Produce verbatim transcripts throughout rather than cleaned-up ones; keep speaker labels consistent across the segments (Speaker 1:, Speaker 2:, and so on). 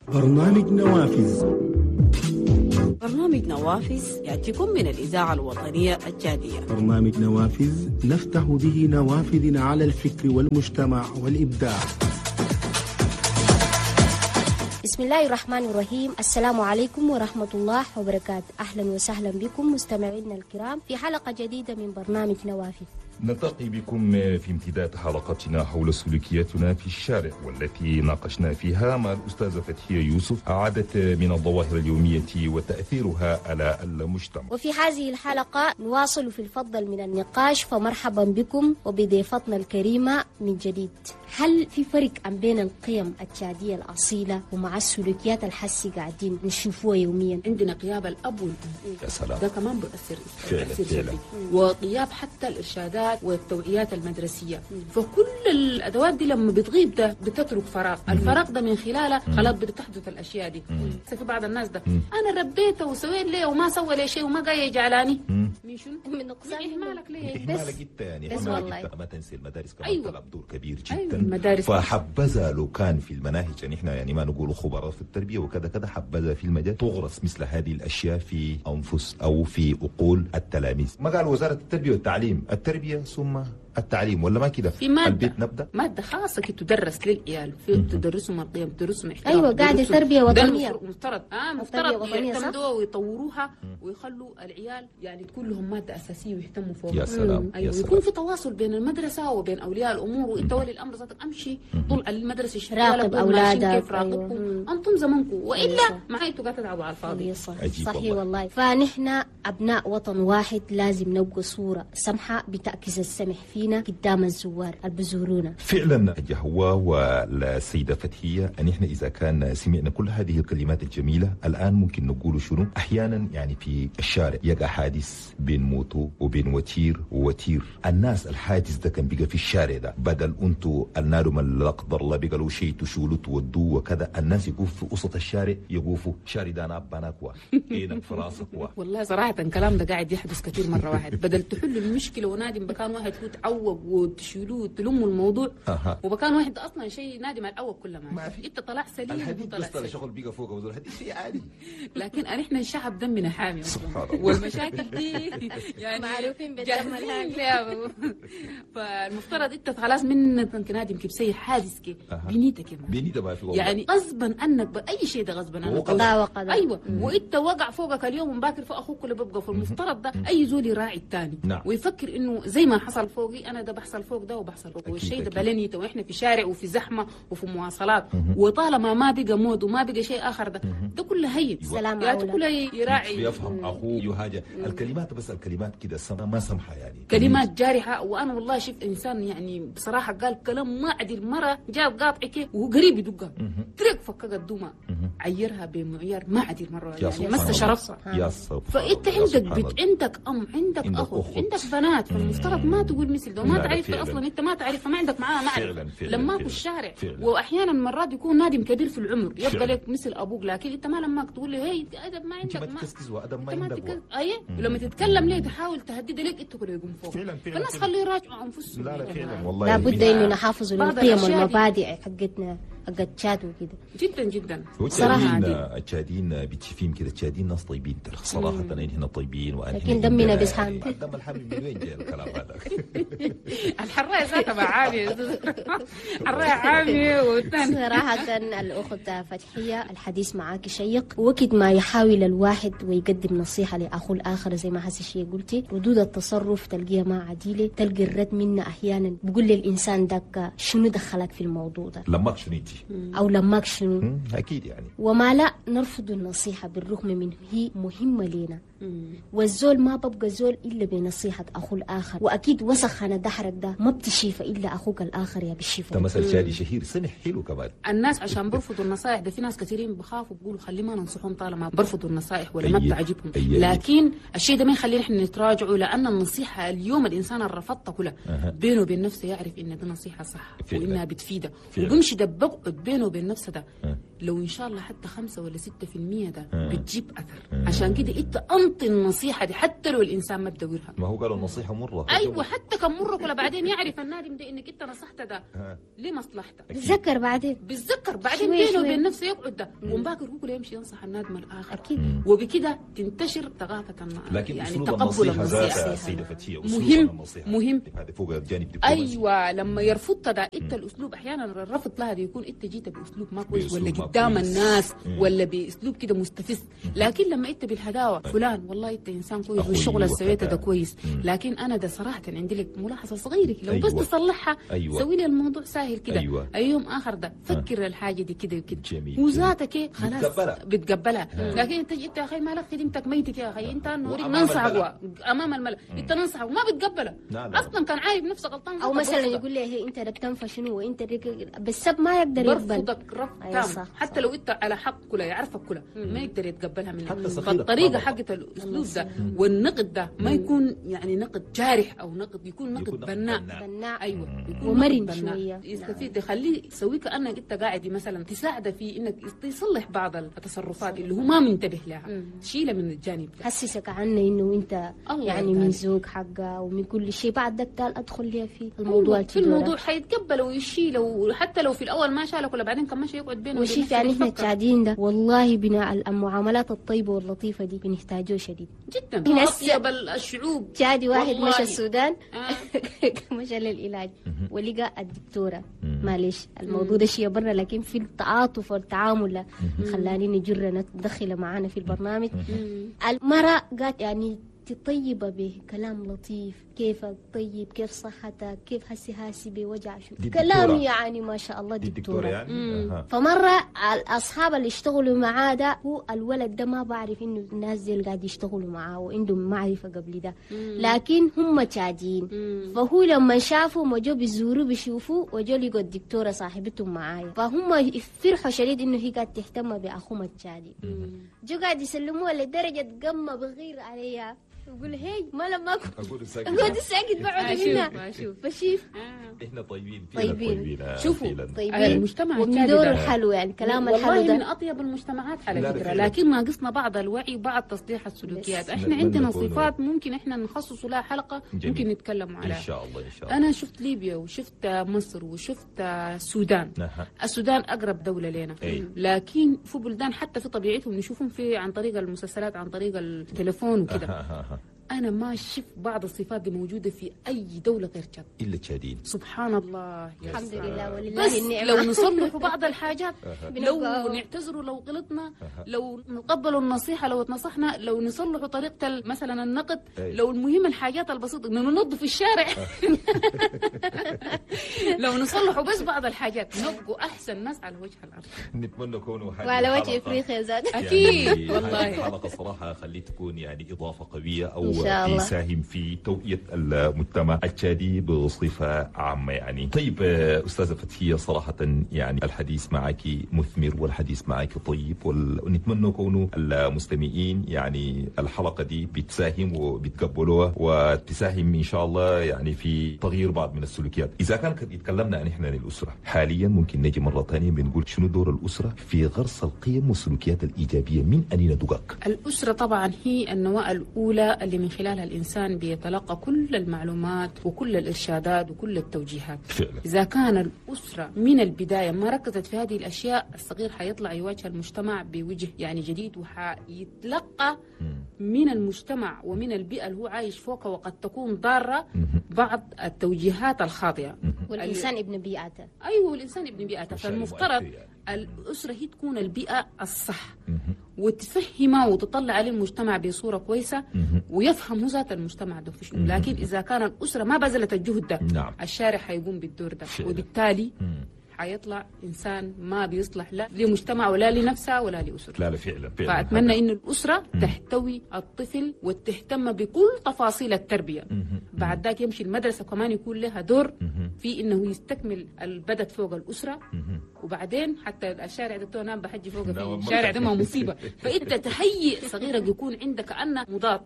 Speaker 1: برنامج نوافذ.
Speaker 2: برنامج نوافذ يأتيكم من الإذاعة الوطنية التشادية.
Speaker 1: برنامج نوافذ نفتح به نوافذنا على الفكر والمجتمع والإبداع.
Speaker 3: بسم الله الرحمن الرحيم. السلام عليكم ورحمة الله وبركاته. أهلا وسهلا بكم مستمعينا الكرام في حلقة جديدة من برنامج نوافذ.
Speaker 4: نلتقي بكم في امتداد حلقتنا حول سلوكياتنا في الشارع، والتي ناقشنا فيها مع الأستاذة فتحية يوسف عدد من الظواهر اليومية وتأثيرها على المجتمع.
Speaker 3: وفي هذه الحلقة نواصل في الفضل من النقاش، فمرحبا بكم وبضيفتنا الكريمة من جديد. هل في فرق بين القيم التشادية الأصيلة ومع السلوكيات الحسي قاعدين نشوفوها يوميا؟
Speaker 5: عندنا غياب الأب والأم،
Speaker 4: يا سلام،
Speaker 5: ده كمان بيأثر
Speaker 4: فعلا فعلا،
Speaker 5: وغياب حتى الإرشادات والتوعيات المدرسية. فكل الأدوات دي لما بتغيب ده بتترك فراغ، الفراغ ده من خلاله خلاص بتحدث الأشياء دي. في بعض الناس ده مم. أنا ربيته وسويت ليه وما سوى لي شيء وما جاي يجعلاني من شنو؟
Speaker 3: من نقصان
Speaker 5: إهمالك ليه؟
Speaker 6: إهمالك جدا يعني،
Speaker 3: بس والله
Speaker 6: ما تنسي المدارس كمان أيوة. تلعب دور كبير جدا.
Speaker 5: أيوة. المدارس
Speaker 6: فحبذا لو كان في المناهج، يعني احنا يعني ما نقول خبراء في التربية وكذا كذا، حبذا في المجال تغرس مثل هذه الأشياء في أنفس أو في عقول التلاميذ. ما قال وزارة التربية والتعليم، التربية ثم التعليم، ولا ما كده؟
Speaker 5: في مادة
Speaker 6: البيت نبدأ
Speaker 5: مادة خاصة كي تدرس للعيال، في تدرسهم القيم، تدرسهم احترام.
Speaker 3: أيوة، قاعدة تربية وطنية
Speaker 5: مفترض آه مفترض يعتمدوها ويطوروها ويخلوا العيال يعني تكون لهم مادة أساسية ويهتموا فوقها.
Speaker 6: يا سلام.
Speaker 5: أيوة،
Speaker 6: يا سلام.
Speaker 5: ويكون في تواصل بين المدرسة وبين أولياء الأمور، وتولي الأمر ذاتك أمشي طول على المدرسة
Speaker 3: راقب أولادك،
Speaker 5: كيف راقبكم. أيوة. أنتم زمنكم، وإلا ما أنتوا قاعد تلعبوا على الفاضي.
Speaker 3: صحيح والله. فنحن أبناء وطن واحد، لازم نبقى صورة سمحة بتعكس السمح فينا قدام الزوار اللي بزورونا.
Speaker 6: فعلا جهوة والسيدة فتحية، أن إحنا إذا كان سمعنا كل هذه الكلمات الجميلة الآن ممكن نقول شنو؟ أحيانا يعني في الشارع يقع حادث بين موتو وبين وتير ووتير، الناس الحادث ده كان بقى في الشارع ده، بدل أنتو النار ما لا قدر الله بقى له شيء تشولوا تودوه وكذا، الناس يقفوا في وسط الشارع، يقفوا شارع ده أنا أباناكوا إينك في راسك.
Speaker 5: والله صراحة الكلام ده قاعد يحدث كثير مرة واحد، بدل تحل المشكلة ونادم بكان واحد هو تعوق وتشيلوه وتلموا الموضوع.
Speaker 6: أه.
Speaker 5: وبكان واحد اصلا شيء نادم على الاول كله ما في. انت طلع سليم،
Speaker 6: الحديد بس طلع شغل بيقى فوق وزول الحديد شيء عادي.
Speaker 5: لكن احنا الشعب دمنا حامي
Speaker 6: سبحان الله،
Speaker 5: والمشاكل دي يعني
Speaker 3: معروفين بالدم الحامي.
Speaker 5: فالمفترض انت خلاص من نادم كيف سي حادث كي بنيتك
Speaker 6: بنيتك ما في
Speaker 5: يعني غصبا عنك باي شيء ده غصبا عنك
Speaker 3: قضاء وقدر.
Speaker 5: ايوه، وانت وقع فوقك اليوم ومباكر فوق اخوك اللي بيبقى. فالمفترض ده اي زول يراعي الثاني.
Speaker 6: نعم.
Speaker 5: ويفكر انه زي ما حصل فوقي انا ده بحصل فوق ده وبحصل فوق، والشيء ده بلنيته، واحنا في شارع وفي زحمة وفي مواصلات، وطالما ما بقى مود وما بقى شيء اخر ده ده كله هين.
Speaker 3: سلام
Speaker 5: يعني كله يراعي
Speaker 6: يفهم اخوه يهاجر الكلمات، بس الكلمات كده ما سمحه يعني
Speaker 5: كلمات جارحه. وانا والله شفت انسان يعني بصراحة قال كلام ما عدل، مرة جاب قاطعك وهو قريب يدقها ترك فكك الدمى عيرها بمعيار ما عدل مرة يعني مس شرفها.
Speaker 6: يا سبحان.
Speaker 5: فانت عندك بيت، عندك ام، عندك اخو، عندك بنات، فالمفترض ما تقول مثل ده، ما تعرف اصلا انت ما تعرف، ما عندك معاه معرفة لما في الشارع. واحيانا مرات يكون نادم كبير في العمر يبقى لك مثل ابوك، لكن انت ما لما تقول له هي ادب ما عندك،
Speaker 6: ما تكسكس وادب ما عندك.
Speaker 5: اي، ولما تتكلم ليه تحاول تهدد لك انت كله يقوم فوق.
Speaker 6: فعلا فعلا.
Speaker 5: فالناس خليه يراجعوا انفسهم.
Speaker 6: لا لا فعلا والله
Speaker 3: لابد انه نحافظ للقيم والمبادئ حقتنا حق تشاد وكده.
Speaker 5: جدا جدا
Speaker 6: صراحة. التشاديين بتشوفيهم كده، التشاديين ناس طيبين ترى صراحة، هنا طيبين،
Speaker 3: لكن دمنا بيسخن.
Speaker 6: الدم الحامي من وين جاي الكلام هذا؟
Speaker 5: الحراية ذاتها مع عامية، حراية عامية. والثاني
Speaker 3: صراحة الأخت فتحية الحديث معاك شيق، وقت ما يحاول الواحد ويقدم نصيحة لأخوه الآخر زي ما حسي شيء قلتي، ردود التصرف تلقيها ما عديلة، تلقي الرد منا أحيانا بقول للإنسان داك شنو دخلك في الموضوع ده،
Speaker 6: لماك شنو انتي
Speaker 3: أو لماك شنو،
Speaker 6: أكيد يعني.
Speaker 3: وما لا نرفض النصيحة بالرغم من هي مهمة لنا، والزول ما ببقى زول إلا بنصيحة أخوه الآخر، وأكيد وسخ أنا دحرك ده ما بتشيفه إلا أخوك الآخر يا بالشيفة.
Speaker 6: ده مثل شادي شهير سمح حلو كمان.
Speaker 5: الناس عشان برفضوا النصائح ده في ناس كثيرين بخافوا بيقولوا خلي ما ننصحهم طالما برفضوا النصائح ولا ما بتعجبهم، لكن الشيء ده ما يخلينا احنا نتراجعوا، لأن النصيحة اليوم الإنسان اللي رفضتها كلها بينه وبين نفسه يعرف إن دي نصيحة صح وإنها بتفيده، وبمشي ده بقعد بينه وبين نفسه ده لو ان شاء الله حتى خمسة ولا ستة في المية ده بتجيب اثر. عشان كده انت انطي النصيحة دي حتى لو الانسان ما بدورها.
Speaker 6: ما هو قالوا النصيحة مرة.
Speaker 5: ايوه حتى كم مرة كلها بعدين يعرف النادم ده انك انت نصحته ده لمصلحته.
Speaker 3: بتذكر بعدين
Speaker 5: بتذكر بعدين بينه وبين نفسه يقعد ده ومباكر هو يمشي ينصح النادم الاخر.
Speaker 3: اكيد.
Speaker 5: وبكده تنتشر ثقافة
Speaker 6: لكن
Speaker 5: يعني
Speaker 6: أسلوب
Speaker 5: تقبل
Speaker 6: النصيحة
Speaker 5: النصيحة
Speaker 6: ذاتها سيدة فتحية
Speaker 5: مهم مهم
Speaker 6: هذا فوق الجانب الدبلوماسي.
Speaker 5: ايوه لما يرفض ده انت الاسلوب احيانا الرفض لها يكون انت جيت باسلوب ما كويس ولا قدام الناس مم. ولا باسلوب كده مستفز. لكن لما انت بالهداوه فلان والله انت انسان كويس والشغل اللي سويته ده كويس، لكن انا ده صراحة عندي لك ملاحظة صغيرة لو أيوة. بس تصلحها. أيوة. سوي لي الموضوع سهل كده. أيوة. اي يوم اخر ده فكر الحاجة دي كده وكده وذاتك خلاص بتقبلها. لكن انت جيت يا اخي مالك خدمتك ميتك يا اخي انت نوريك ننصحك امام الملأ انت ننصحك وما بتقبله اصلا كان عارف نفسه غلطان.
Speaker 3: او مثلا يقول لي هي انت بتنفى شنو وانت بالسب ما يقدر يقبل.
Speaker 5: برفضك رفض تام حتى لو انت على حق كلها يعرفك كلها ما يقدر يتقبلها منك. فالطريقه حقت الاسلوب ده والنقد ده ما يكون يعني نقد جارح او نقد، يكون نقد بناء.
Speaker 3: بناء
Speaker 5: ايوه يكون
Speaker 3: ومرن شوية
Speaker 5: يستفيد، يخليه يسوي كانك انت قاعد مثلا تساعده في انك تصلح بعض التصرفات اللي هو ما منتبه لها، شيله من الجانب ده.
Speaker 3: حسسك عنه انه انت يعني من ذوق حقه ومن كل شيء. بعد ده قال ادخل لي في الموضوع
Speaker 5: في الموضوع حيتقبل ويشيله، وحتى لو في الاول ما شالك ولا بعدين كمان شيء يقعد بينه.
Speaker 3: وشيف يعني احنا التعدين ده والله بناء المعاملات الطيبة واللطيفه دي بنحتاجه شديد
Speaker 5: جدا. اطيب الشعوب.
Speaker 3: تشادي واحد مشى السودان مشى للعلاج ولقى الدكتورة، معلش الموضوع ده شيء برا لكن في التعاطف والتعامل خلاني نجر ندخله معانا في البرنامج. المرأة قالت يعني طيبة بكلام لطيف، كيفك طيب، كيف صحتك، كيف هسي هاسي بوجع شو كلام يعني ما شاء الله دكتورة
Speaker 6: يعني.
Speaker 3: فمرة الأصحاب اللي اشتغلوا معاه ده هو الولد ده ما بعرف إنه الناس دي اللي قاعد يشتغلوا معاه وعندهم معرفة قبل ده، لكن هم تشادين. فهو لما شافوا وجو بيزوروا بيشوفوا وجو لقوا الدكتورة صاحبتهم معايا، فهم فرحوا شديد إنه هي قاعد تهتم بأخوهم التشادي. جو قاعد يسلموها لدرجة قمة بغير عليها يقول هي ما لما
Speaker 6: اقول ساكت
Speaker 3: اقول ساكت بعد منها بشيف.
Speaker 6: احنا طيبين
Speaker 3: طيبين
Speaker 5: شوفوا طيبين المجتمع
Speaker 3: التشادي ده الحلو يعني كلام الحلو ده
Speaker 5: والله من اطيب المجتمعات على فكرة، لكن ناقصنا بعض الوعي وبعض تصليح السلوكيات. احنا عندنا صفات ممكن احنا نخصص لها حلقة ممكن نتكلم عليها
Speaker 6: ان شاء الله. ان شاء الله
Speaker 5: انا شفت ليبيا وشفت مصر وشفت السودان. السودان اقرب دولة لنا، لكن في بلدان حتى في طبيعتهم نشوفهم في عن طريق المسلسلات عن طريق التليفون وكده. أنا ما شفت بعض الصفات دي موجودة في أي دولة غير تشاد
Speaker 6: إلا تشادين.
Speaker 5: سبحان الله
Speaker 3: الحمد لله ولله النعمة.
Speaker 5: لو نصلحوا بعض الحاجات، لو نعتذروا لو غلطنا، لو نقبلوا النصيحة لو اتنصحنا، لو نصلحوا طريقة مثلا النقد، لو المهم الحاجات البسيطة إنه ننظف الشارع لو نصلحوا بس بعض الحاجات نبقوا أحسن ناس على وجه الأرض.
Speaker 6: نتمنى كونه
Speaker 3: وعلى وجه إفريقيا زاد
Speaker 5: أكيد والله.
Speaker 6: الحلقة صراحة خلي تكون يعني إضافة قوية أو يساهم في توعية المجتمع التشادي بصفة عامة يعني. طيب أستاذة فتحية، صراحة يعني الحديث معك مثمر والحديث معك طيب، ونتمنى كونه المستمعين يعني الحلقة دي بتساهم وبتقبلوها وتساهم إن شاء الله يعني في تغيير بعض من السلوكيات. إذا كان يتكلمنا عن إحنا للأسرة حاليا، ممكن نجي مرة ثانية بنقول شنو دور الأسرة في غرس القيم والسلوكيات الإيجابية من أنين دقاق؟
Speaker 5: الأسرة طبعا هي النواة الأولى اللي من خلالها الإنسان بيتلقى كل المعلومات وكل الإرشادات وكل التوجيهات.
Speaker 6: فعلا.
Speaker 5: إذا كان الأسرة من البداية ما ركزت في هذه الأشياء، الصغير حيطلع يواجه المجتمع بوجه يعني جديد، وحيتلقى من المجتمع ومن البيئة اللي هو عايش فوقها، وقد تكون ضارة بعض التوجيهات الخاطئة.
Speaker 3: والإنسان ابن بيئته.
Speaker 5: أيوه والإنسان ابن بيئته، فالمفترض الأسرة هي تكون البيئة الصح وتفهمه وتطلع عليه المجتمع بصورة كويسة ويفهم هو ذات المجتمع ده في شنو. لكن إذا كان الأسرة ما بذلت الجهد ده،
Speaker 6: نعم،
Speaker 5: الشارع حيقوم بالدور ده، وبالتالي حيطلع إنسان ما بيصلح لا لمجتمع ولا لنفسه ولا لأسرته.
Speaker 6: لا لا فعلا فعلا.
Speaker 5: فأتمنى إن الأسرة مم. تحتوي الطفل وتهتم بكل تفاصيل التربية.
Speaker 6: مم.
Speaker 5: بعد ذاك يمشي المدرسة كمان يكون لها دور
Speaker 6: مم.
Speaker 5: في إنه يستكمل البدت فوق الأسرة.
Speaker 6: مم.
Speaker 5: وبعدين حتى الشارع ده نام بحجي فوق في الشارع ده ما مصيبة. فأنت تهيئ صغيرك يكون عندك كأنه مضاد،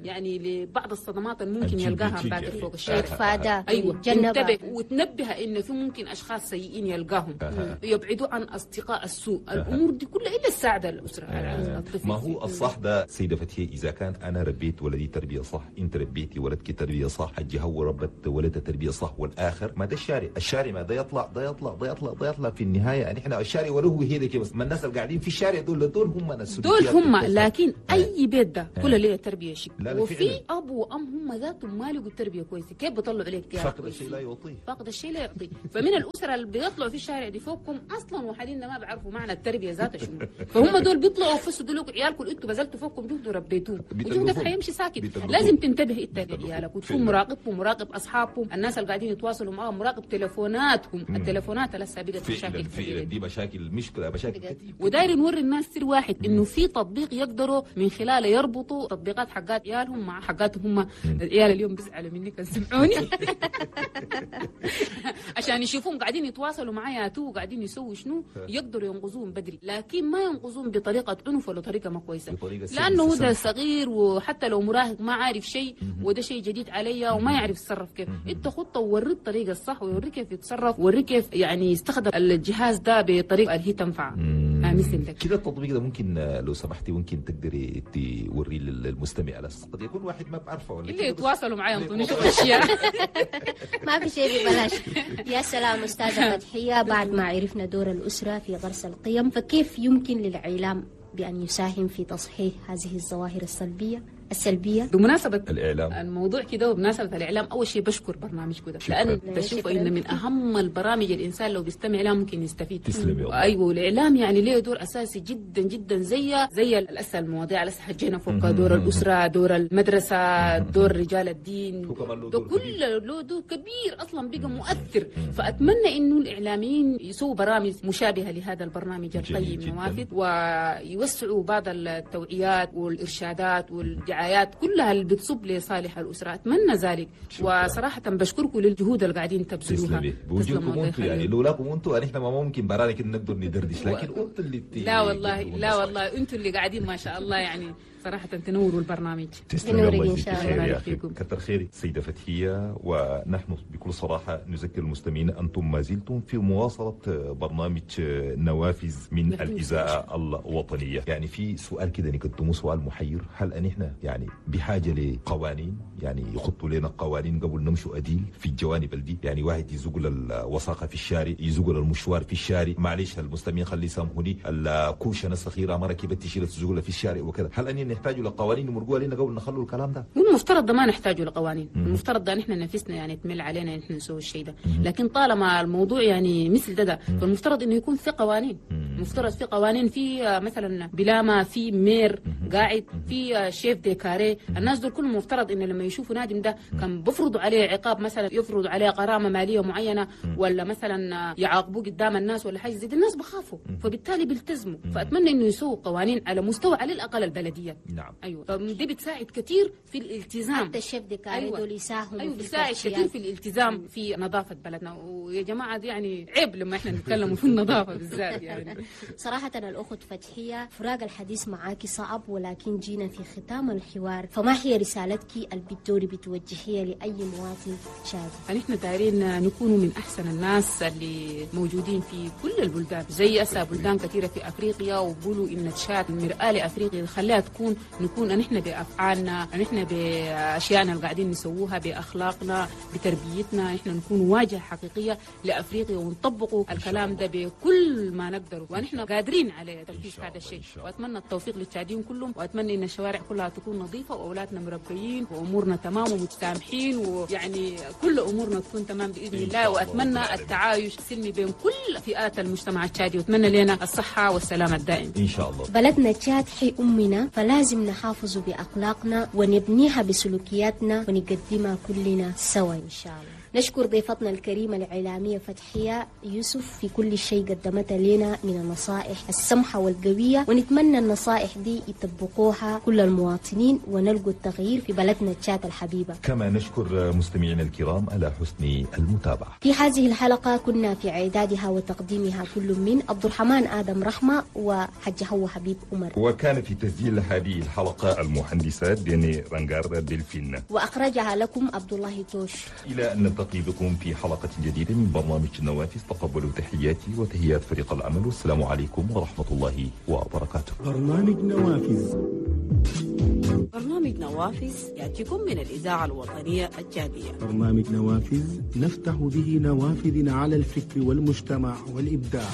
Speaker 5: يعني لبعض الصدمات اللي ممكن يلقاها باكر فوق الشارع.
Speaker 3: يتفادى.
Speaker 5: ايوه ينتبه وتنبه انه في ممكن اشخاص سيئين يلقاهم، يبعدوا عن اصدقاء السوء. الامور دي كلها الا تساعد الاسرة على الطفل.
Speaker 6: ما هو الصح ده سيده فتحيه، اذا كان انا ربيت ولدي تربيه صح، انت ربيتي ولدك تربيه صح، الجهة وربت ولدها تربيه صح، والاخر ما ده الشارع، الشارع ما ده يطلع ده يطلع ده يطلع ده يطلع في النهاية يعني احنا الشارع وله هي كده بس، ما الناس اللي قاعدين في الشارع دول دول هم ناس
Speaker 5: دول هم. لكن اي بيت ده كله ليه تربيه شيء، وفي اب وام هم ذاتهم ما لقوا التربية كويسة، كيف بيطلعوا عليك يا
Speaker 6: فاقد الشيء لا يعطيه،
Speaker 5: فاقد الشيء لا يعطيه. فمن الاسرة اللي بيطلعوا في الشارع دي فوقكم اصلا وحاليا ما بيعرفوا معنى التربية ذاتها شنو، فهم دول بيطلعوا فسدوا لكم عيالكم، انتوا بذلتوا فوقكم جهد وربيتوه، وجهدك حيمشي ساكت. لازم تنتبه انت لعيالك وتكون مراقبهم، مراقب اصحابهم، الناس اللي قاعدين يتواصلوا معاهم، مراقب تليفوناتهم. التليفونات لسه بقت مشاكل
Speaker 6: كبيرة، دي مشاكل مشكلة مشاكل كتير.
Speaker 5: وداير نوري الناس سر واحد، انه في تطبيق يقدروا من خلاله يربطوا تطبيقات حقات عيالهم مع حقاتهم هم. العيال اليوم بيزعلوا مني كان سمعوني عشان يشوفون قاعدين يتواصلوا معايا تو قاعدين يسووا شنو، يقدروا ينقذوهم بدري، لكن ما ينقذوهم بطريقة عنف ولا طريقه ما كويسة، لانه هو ده صغير وحتى لو مراهق ما عارف شيء، وده شيء جديد عليا وما يعرف يتصرف كيف. انت خطه ووريه الطريقة الصح، ووريه كيف يتصرف، ووريه كيف يعني يستخدم الجهاز ده بطريقة اللي هي تنفع مثل ده
Speaker 6: كده. التطبيق ده ممكن لو سمحتي ممكن تقدري توريه للمستمع على اساس قد يكون واحد ما بعرفه ولا
Speaker 5: اللي يتواصلوا معايا ينطوني اشياء
Speaker 3: ما في شيء ببلاش. يا سلام استاذه فتحيه، بعد ما عرفنا دور الاسرة في غرس القيم، فكيف يمكن للاعلام بان يساهم في تصحيح هذه الظواهر السلبية السلبية؟
Speaker 5: بمناسبة
Speaker 6: الإعلام
Speaker 5: الموضوع كده، وبمناسبة الإعلام، أول شيء بشكر برنامجكم ده، لأن بشوف إن من أهم البرامج الإنسان لو بيستمع لها ممكن يستفيد.
Speaker 6: تسلم يا الله.
Speaker 5: أيوة، والإعلام يعني له دور أساسي جدا جدا، زي زي الأسئلة المواضيع اللي حجينا فوق، دور الأسرة، دور المدرسة، دور رجال الدين، ده كل له دور كبير أصلا بقى مؤثر. فأتمنى إنه الإعلاميين يسووا برامج مشابهة لهذا البرنامج القيم نوافذ، ويوسعوا بعض التوعيات والإرشادات والدعايات كلها اللي بتصب لصالح الأسرة. أتمنى ذلك. وصراحة بشكركم للجهود اللي قاعدين تبذلوها.
Speaker 6: تسلمي بوجودكم انتم، يعني لولاكم انتم احنا ما ممكن برانا كده نقدر ندردش، لكن انتم اللي
Speaker 5: لا والله لا والله انتم اللي قاعدين ما شاء الله، يعني صراحة تنوروا البرنامج.
Speaker 6: تسلمي الله يجزيك خير يا أخي، كتر خيرك سيدة فتحية. ونحن بكل صراحة نذكر المستمعين أنتم ما زلتم في مواصلة برنامج نوافذ من الإذاعة الوطنية. يعني في سؤال كده نقدمه، سؤال محير، هل أن إحنا يعني بحاجة لقوانين، يعني يخطوا لنا قوانين قبل نمشوا أديل في الجوانب دي؟ يعني واحد يزقل الوساخة في الشارع، يزقل المشوار في الشارع، معلش المستمعين خلي يسامحوني، الكوشة الصغيرة ما ركبت تشيل تزقلها في الشارع وكذا، هل أن نحتاج لقوانين يمرقوها لنا قبل نخلوا الكلام ده؟
Speaker 5: المفترض ده ما نحتاجه لقوانين، المفترض ده نحن نفسنا يعني تمل علينا نحن نسوي الشيء ده، لكن طالما الموضوع يعني مثل ده ده فالمفترض انه يكون في قوانين. المفترض في قوانين، في مثلا بلاما، في maire قاعد، في chef de carré، الناس دول كلهم المفترض انه لما يشوفوا نادم ده كان بفرضوا عليه عقاب، مثلا يفرضوا عليه غرامة ماليه معينة، ولا مثلا يعاقبوه قدام الناس ولا حاجة زي دي، الناس بخافوا فبالتالي بيلتزموا. فاتمنى انه يسووا قوانين على مستوى على الاقل البلدية.
Speaker 6: نعم.
Speaker 5: ايوه، فدي بتساعد كثير في الالتزام.
Speaker 3: حتى ال chef de carré أيوة. دول يساهموا.
Speaker 5: ايوه بتساعد كثير في الالتزام في نظافة بلدنا. ويا جماعة دي يعني عيب لما احنا نتكلم في النظافة بالذات يعني.
Speaker 3: صراحة الاخت فتحيه، فراق الحديث معاكي صعب، ولكن جينا في ختام الحوار، فما هي رسالتك اللي بتدوري بتوجهيها لاي مواطن شادي؟
Speaker 5: نحن دايرين نكون من احسن الناس اللي موجودين في كل البلدان، زي اسا بلدان كثيرة في افريقيا، وبقولوا ان تشاد مرآة لافريقيا، خليها تكون نكون نحن بافعالنا، نحن باشيائنا اللي قاعدين نسووها، باخلاقنا، بتربيتنا، نحن نكون واجهه حقيقية لافريقيا، ونطبقوا الكلام ده بكل ما نقدره، ونحن قادرين على تنفيذ هذا الشيء. واتمنى التوفيق للتشاديين كلهم، واتمنى ان الشوارع كلها تكون نظيفة، واولادنا مربيين، وامورنا تمام ومتسامحين، ويعني كل امورنا تكون تمام باذن الله. واتمنى التعايش السلمي بين كل فئات المجتمع التشادي، واتمنى لنا الصحة والسلامة الدائم
Speaker 6: ان شاء الله.
Speaker 3: بلدنا تشاد حي امنا، فلازم نحافظ باخلاقنا ونبنيها بسلوكياتنا ونقدمها كلنا سوا ان شاء الله. نشكر ضيفتنا الكريمة الإعلامية فتحية يوسف في كل شيء قدمتها لنا من النصائح السمحة والقوية، ونتمنى النصائح دي يطبقوها كل المواطنين ونلقوا التغيير في بلدنا تشاد الحبيبة.
Speaker 6: كما نشكر مستمعينا الكرام على حسن المتابعة.
Speaker 3: في هذه الحلقة كنا في إعدادها وتقديمها كل من عبد الرحمن آدم رحمة وحج هو حبيب عمر،
Speaker 4: وكان في تسجيل هذه الحلقة المهندسة ديني رانجار دلفين،
Speaker 3: وأخرجها لكم عبد الله توش.
Speaker 4: إلى أن نلتقي بكم في حلقة جديدة من برنامج النوافذ، تقبلوا تحياتي وتحيات فريق العمل، والسلام عليكم ورحمة الله وبركاته.
Speaker 1: برنامج نوافذ.
Speaker 2: برنامج نوافذ يأتيكم من الإذاعة الوطنية التشادية.
Speaker 1: برنامج نوافذ نفتح به نوافذنا على الفكر والمجتمع والإبداع.